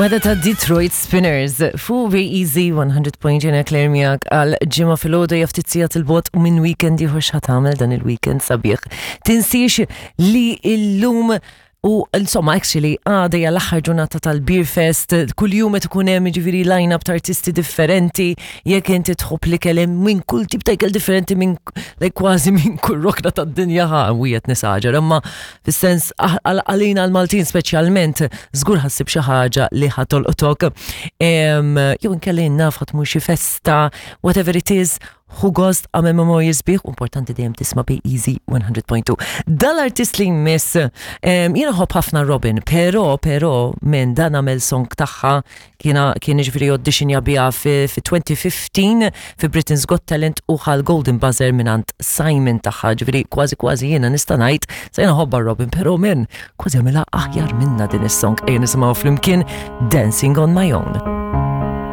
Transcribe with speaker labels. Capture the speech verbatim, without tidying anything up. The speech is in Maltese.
Speaker 1: Weda ta' Detroit Spinners, fu Be Easy one hundred point ġena Claire miegħek għal Ġimgħa filgħodu, ftit sigħat 'il bogħod minn weekend ieħor. X'ħa tagħmel dan il-weekend sabiħ? Tinsiex li illum u insomma, actually, għada hija l-aħħar ġurnata tal-Beer Fest, kull jum qed ikun hemm ġifieri line-up ta' artisti differenti, jekk inti tħobb li kellem minn kull tip ta' ikel differenti, minn like kważi minn kull rokna tad-dinja, ħa wiet nisaġer, imma fis-sens għalina l-Maltin speċjalment żgur ħa ssib xi ħaġa li ħa tolqtok. Jew inkella naf ħa tmur xi festa, whatever it is, ħu gost, għamel memorji sbieħ, importanti dejjem tisma' Be Easy one hundred point two. Dal-artist li jmiss, jiena nħobb ħafna Robin, pero, pero, minn dan għamel song tagħha, kiena kien ġifieri auditionja biha fi, fi twenty fifteen fi Britain's Got Talent u ħa l-Golden Buzzer mingħand Simon tagħha, ġifieri kważi kważi jiena nista' ngħid, sa jiena nħobbha Robin, pero men, kważi għamilha aħjar minna din is-song. Ejja nisimgħu flimkien Dancing on My Own.